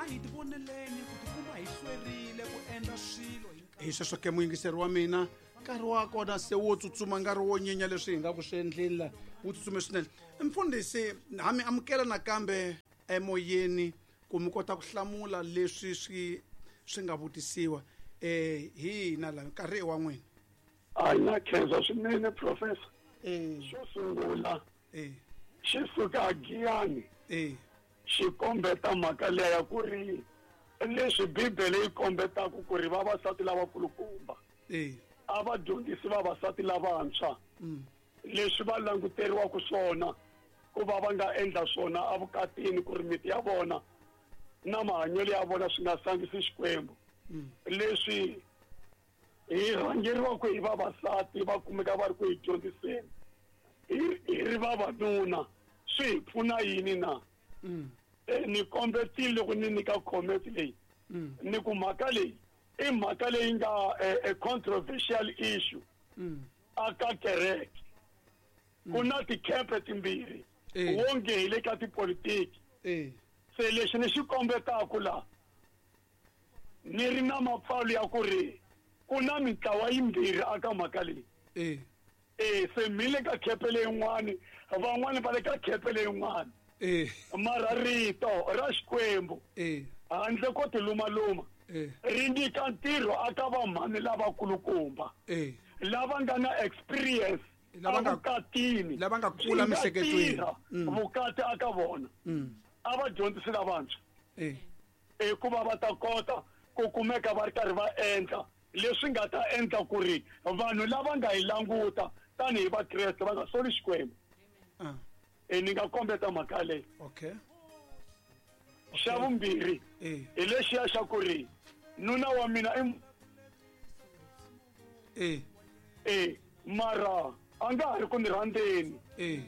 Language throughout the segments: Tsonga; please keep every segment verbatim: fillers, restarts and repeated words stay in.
A hi tivoneleni ku tikuma hi hlwerile ku endla swilo hi Hi sweswo ke, muyingiseri wa mina, nkarhi wa kona se wo tsutsuma, nkarhi wo nyenya leswi hi nga ku swi endleni la wu tsutsume swinene. Mfundhisi, ha mi amukela nakambe emoyeni ku mi kota ku hlamula leswi swi swi nga vutisiwa eh hi hina la. Nkarhi i wa n'wina. A na khensa swinene, professor. Eh xo sungula, eh xi suka Giyani, eh xi kombeta mhaka leya ya ku ri leswi Bibele yi kombetaka ku ri vavasati lavakulukumba eh a va dyondzisi vavasati lavantshwa mm leswi va languteriwaka swona ku va va nga endla swona evukatini, ku ri miti ya vona na mahanyelo ya vona swi nga sangisi Xikwembu. Mm leswi hi rhangeriwaka hi vavasati va kumeka va ri ku hi dyondziseni hi hi ri vavanuna, swi hi pfuna yini na? mm e ni kombetile loko ni nyika comment leyi, mm ni ku mhaka leyi i mhaka leyi nga a, a controversial issue mm aka kereke. Ku na tikhempe timbirhi, Eh. wonge hi le ka tipolitiki. Eh se lexi ni xi kombetaka la, ni ri na mapfalo ya ku ri ku na mintlawa yimbirhi aka mhaka leyi. Eh e se mi le ka khepe leyin'wani, van'wani va le ka khepe leyin'wani, eh mara rito ra Xikwembu, eh handle ko tilumaluma, eh ri nyika ntirho aka vamhani lavakulukumba eh lava nga na experience Lava nga- evukatini, lava nga kula byi nga miehleketweni. tirha Mm. vukati aka vona, mm a va dyondzisi lavantshwa eh hikuva va ta kota ku kumeka va ri karhi va endla leswi nga ta endla ku ri vanhu lava nga hi languta tanihi Vakreste va nga soli Xikwembu. Ah. E ni nga kombeta mhaka leyi. Okay. Xa vumbirhi, eh hi lexiya xa ku ri nuna wa mina i eh e mara a nga ha ri ku ni rhandzeni. Eh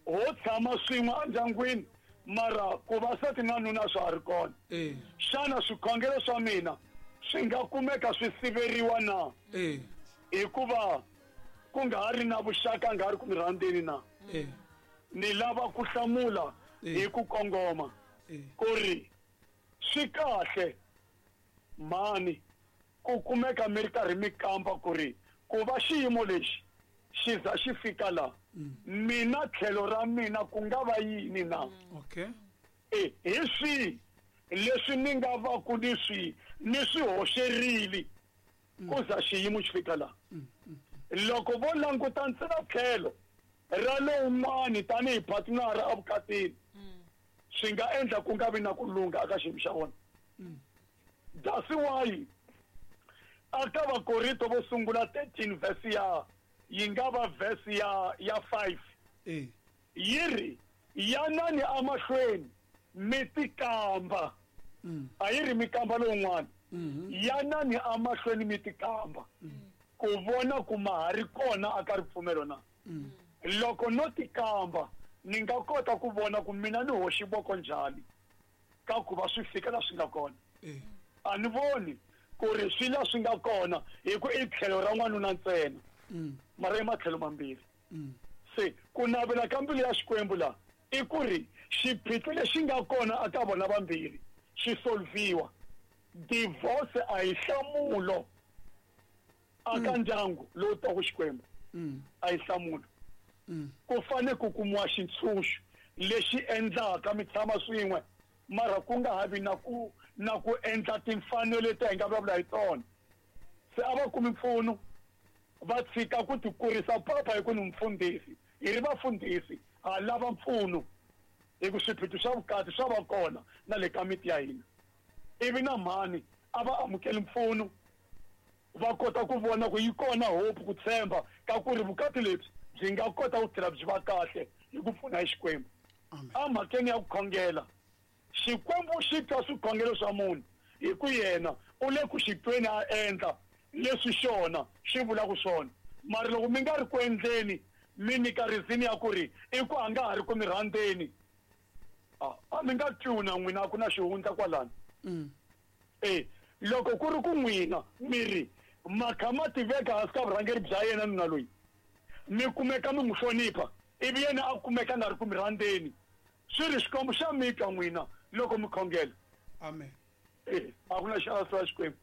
ho tshama swin'we endyangwini, mara ku va sati na nuna swa ha ri kona. Eh xana swikhongelo swa mina swi nga kumeka swi siveriwa na, eh hikuva ku nga ha ri na vuxaka, nga ha ri ku mi rhandzeni na? Eh ni lava ku hlamula Eh. hi ku kongoma eh ku ri swi kahle mhani ku kumeka mi ri karhi mi kamba ku ri ku va xiyimo lexi xi za xi fika la, mina tlhelo ra mina ku nga va yini na? Okay. E hi swihi leswi ni nga va ku ni swi ni swi hoxerile ku za xiyimo xi fika la? Loko vo languta ntsena tlhelo ra lowun'wani tanihi partner evukatini, swi nga endla ku nga vi na ku lungha aka xiyimo xa vona. That's why aka Vakorinto vo sungula thirteen verse ya yi nga va verse ya ya five, eh yi ri yanani amahlweni mi tikamba. Mm a yi ri mi kamba lowun'wana, mhm yanani amahlweni mi tikamba ku vona ku ma ha ri kona aka ripfumelo na. Mm loko no tikamba, ni nga kota ku vona ku mina ni hoxi voko njhani ka ku va swi fika la swi nga kona. Eh a ni voni ku ri swi la swi nga kona hi ku i tlhelo ra n'wanuna ntsena, mm mara i matlhelo mambirhi. Mm se ku navela ka mbilu ya Xikwembu la i ku ri xiphiqo lexi nga kona aka vona vambirhi xi solviwa. Divorce a hi nhlamulo aka ndyangu lowu twaku Xikwembu, mm a hi nhlamulo. Mm ku fane ku kumiwa xintshunxo lexi endlaka mi tshama swin'we, mara ku nga ha vi na ku na ku endla timfanelo leti hi nga vulavula hi tona. Se a va kumi mpfuno, va tshika ku tikurisa papa hi ku ni mfundhisi. Hi ri vafundhisi ha lava mpfuno, hi ku swiphiqo swa vukati swa va kona na le ka miti ya hina. Ivi na mhani a va amukeli mpfuno, va kota ku vona ku yi kona hope, ku tshemba ka ku ri vukati lebyi byi nga kota ku tlhela byi va kahle hi ku pfuna hi Xikwembu. Amen. Emhakeni ya ku khongela, Xikwembu xi twa swikhongelo swa munhu hi ku yena u le ku xi tweni, a endla leswi xona xi vulaka swona. Mara loko mi nga ri ku endleni, mi nyika reason ya ku ri i ku a nga ha ri ku mi rhandzeni, a a mi nga twiwi na n'wina, a ku na xihundla kwalano. Mm e loko ku ri ku n'wina mi ri makha ma tiveka hansi ka vurhangeri bya yena nuna loyi, mi kumeka mi n'wi hlonipha, ivi yena a kumeka a nga ri ku mi rhandzeni, swi ri Xikwembu xa mi twa n'wina loko mi khongela. Amen. Eh, a ku na xalahleriwa Xikwembu.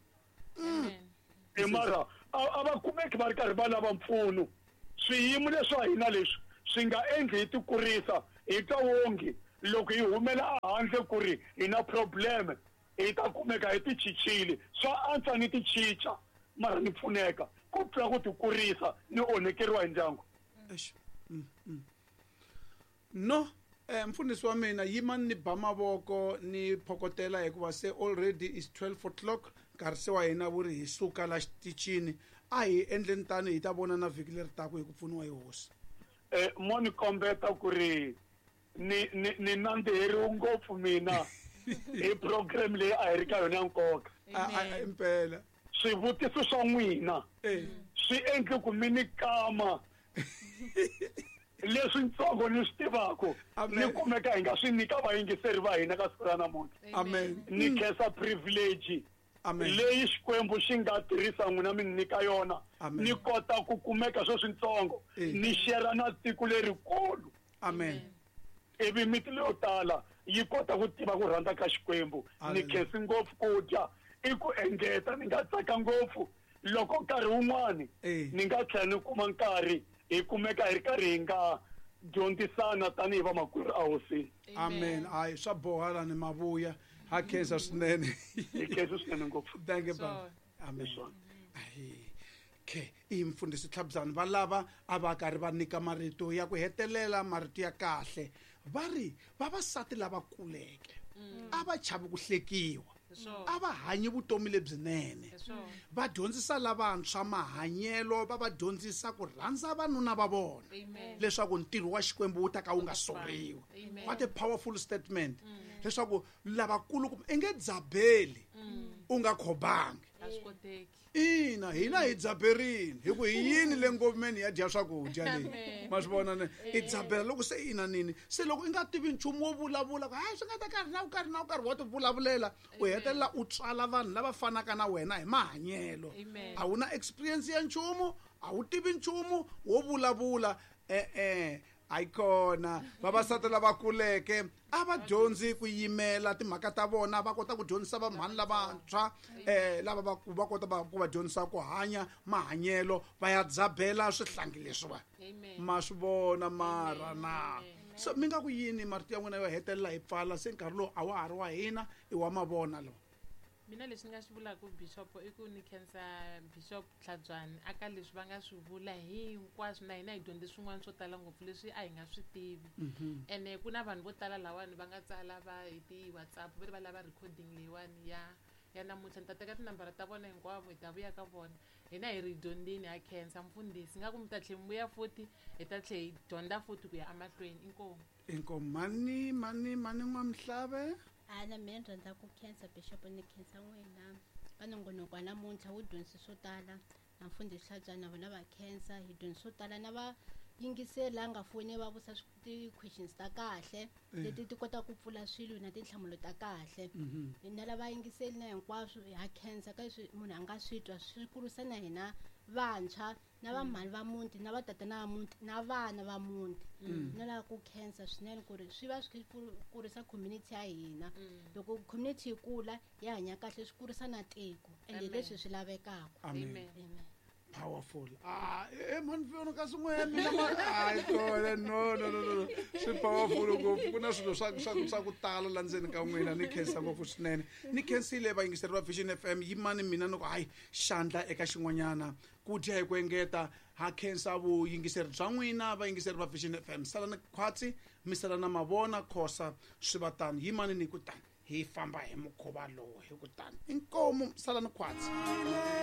E mara a va kumeki va ri karhi va lava mpfuno. Swiyimo leswa hina leswi swi nga endli hi tikurisa hi twa wongi loko hi humela ehandle ku ri hi na problem hi ta kumeka hi tichichile. Swa antswa ni tichicha mara ni pfuneka ku tlula ku tikurisa ni onhekeriwa hi ndyangu. No, eh, mfundhisi wa mina yimani ni ba mavoko ni phokotela hikuva se already is twelve o'clock nkarhi se wa hina wu ri hi suka la xitichini. A hi endleni tani hi ta vona na vhiki leri taka hi ku pfuniwa hi hosi. Eh, mo ni kombeta ku ri ni ni ni nandziheriwe ngopfu mina hi program leyi a hi ri ka yona ya nkoka. Impela swivutiso swa n'wina swi endle ku mi ni kama leswi ntsongo ni swi tivaka ni kumeka hi nga swi nyika vayingiseri va hina ka siku ra namuntlha. Amen. Ni khensa privilege leyi Xikwembu xi nga tirhisa n'wina mi nyika yona ni kota ku kumeka swo swintsongo ni share na tiko lerikulu. Amen. Ivi miti leyo tala yi kota ku tiva ku rhandza ka Xikwembu. Ni khensi ngopfu ku dya i ku engeta ni nga tsaka ngopfu loko nkarhi wun'wani ni nga tlhela ni kuma nkarhi hi kumeka hi ri karhi hi nga dyondzisana tanihi vamakwerhu a hosini. Amen. Hayi swa boha la ni mavuya. Ha khensa swinene. Hi khensa swinene ngopfu. Thank you baba. Amen. Okay, i mfundhisi Tlhabyani va lava a va karhi va nyika marito ya ku hetelela, marito ya kahle. Va ri vavasati lava kuleke a va chavi ku hlekiwa, a va hanyi vutomi lebyinene, va dyondzisa lavantshwa mahanyelo, va va dyondzisa ku rhandza vanuna va vona leswaku ntirho wa Xikwembu wu ta ka wu nga soriwi. What a powerful statement. Leswaku lavakulu i nge dzabeli u nga khobangi. Ina hina hi dzaberini hi ku hi yini le ngomeni ya dya swakudya leyi ma swi vona ne i dzabela loko se ina nini se loko i nga tivi nchumu wo vulavula ku hayi swi nga ta karhi na karhi na karhi wa ti vulavulela u hetelela u tswala vanhu lava fanaka na wena hi mahanyelo. A wu na experience ya nchumu, a wu tivi nchumu wo vulavula. E-e ayikona vavasati lava kuleke a va dyondzi ku yimela timhaka ta vona, va kota ku dyondzisa vamhani lavantshwa eh lava va va kota ku va dyondzisa ku hanya mahanyelo, va ya dzabela swihlangi leswiwa ma swi vona mara na. So mi nga ku yini marito ya n'wina yo hetelela hi pfala se nkarhi lowu a wa ha ri wa hina i wa mavona lowu? Mina leswi ni nga swi vulaka Bishop i ku ni khensa Bishop Tlhabyani aka leswi va nga swi vula hinkwaswo, na hina hi dyondze swin'wana swo tala ngopfu leswi a hi nga swi tivi. Ene ku na vanhu vo tala lawani va nga tsala va hi ti-WhatsApp va ri va lava recording leyiwani ya ya namuntlha. Ni ta teka tinambara ta vona hinkwavo hi ta vuya ka vona. Hina hi ri dyondzini, ha khensa mfundhisi, nga ku mi ta tlhe mi vuya futhi hi ta tlhe hi dyondza futhi ku ya emahlweni. Inkomu. Inkomu. Mani mani mani n'wamhlave. Ana mina ni rhandza ku khensa Bishop, ni khensa n'wina ka nongonoko wa namuntlha wu dyondzise swo tala na mfundhisi Tlhabyani na vona va khensa hi dyondzise swo tala na va yingiseli la nga foni va vusa ti-questions ta kahle leti ti kota ku pfula swilo na tinhlamulo ta kahle. Na lava yingiseli na hinkwaswo ha khensa ka leswi munhu a nga swi twa swi kurisa na hina vantshwa na vamhani va muti na vatatana va muti na vana va muti. Na lava ku khensa swinene ku ri swi va swi kurisa community ya hina. Loko community yi kula yi hanya kahle swi kurisa na tiko ende leswi swi lavekaka. Amen. Powerful. Ah, eh man vona ka swin'wana mina hayi kona no no no no swi powerful ngopfu. Ku na swilo swa swa swa ku tala la ndzeni ka n'wina. Ni khensa ngopfu swinene. Ni khensile vayingiseri va Vision F M. Yimani mina ni ku hayi xandla eka xin'wanyana ku dya hi ku engeta. Ha khensa vuyingiseri bya n'wina vayingiseri va Vision F M. Sala ni khwatsi mi sala na mavona khosa swi va tani. Yimani ni ku tani hi famba hi mukhuva lowu hi ku tani. Inkomu sala ni khwatsi.